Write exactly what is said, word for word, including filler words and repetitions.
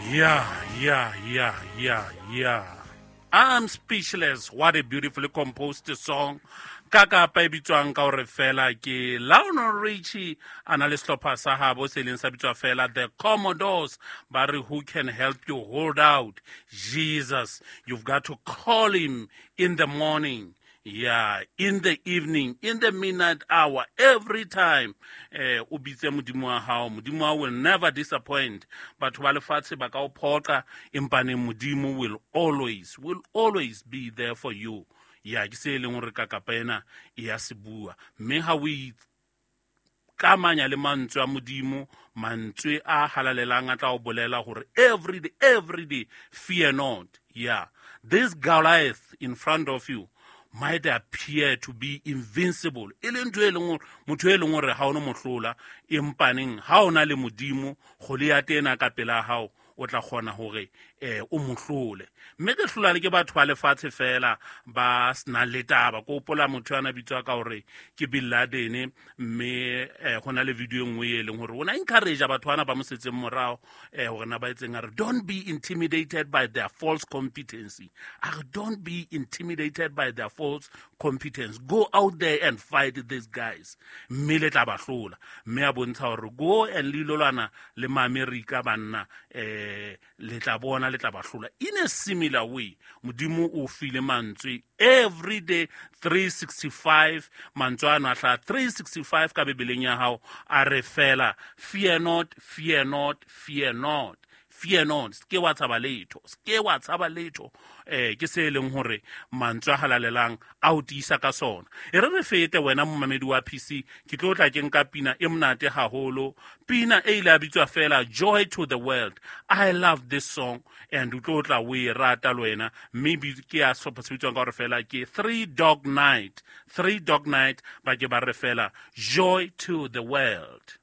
Yeah, yeah, yeah, yeah, yeah. I'm speechless. What a beautifully composed song. Ka kapa e bitswang ka hore fela ke Lionel Richie a na le sehlopha sa habo se leng sa bitswa fela The Commodores. Ba re, who can help you hold out? Jesus. You've got to call him in the morning. Yeah, in the evening, in the midnight hour, every time. Eh, o bitse Modimo wa hao. Modimo wa will never disappoint. Batho ba lefatshe ba ka o phoqa, empa neng Modimo will always, will always be there for you. Ya, ke se e leng hore kakapa ena e ya se bua. Mme ha o ikamanya le mantswe a Modimo, mantswe a halalelang a tla o bolela hore every day, every day, fear not. Yeah, this Goliath in front of you might appear to be invincible. E le ntho e leng hore, motho e leng hore ha o no mo hlola, empa neng ha o na le Modimo, Goliath ena ka pela hao, o tla kgona hore, eh, o mo hlole. Mme ke hlola le ke batho ba lefatshe fela ba senang le taba. Ke hopola motho a na bitswa ka hore ke Bin Laden, mme, eh, ho na le video e nngwe e leng hore o na encourage batho bana ba mo setseng morao, eh, hore na ba etseng, a re don't be intimidated by their false competency. A re don't be intimidated by their false competence. Go out there and fight these guys. Mme le tla ba hlola. Mme a bontsha hore go and le ilo lwana le ma-Amerika banna, eh, le tla bona, le tla ba hlola. In a similar way, Modimo o file mantswe every day, three sixty-five, mantswe ano a hlaha three sixty-five ka Bibeleng ya hao, a re fela, fear not, fear not, fear not. Fear not, se ke wa tshaba letho, se ke wa tshaba letho. Eh, ke se e leng hore mantswe a halalelang a o tiisa ka sona. E re re fete wena momamedi wa P C, ke tlo tla ke nka pina e monate haholo. Pina e ile ya bitswa fela Joy to the World. I love this song and o tlo tla o e rata le wena. Mme ke ya sehlopha se bitswang ka hore fela ke Three Dog Night. Three Dog Night ba ke ba re fela Joy to the World.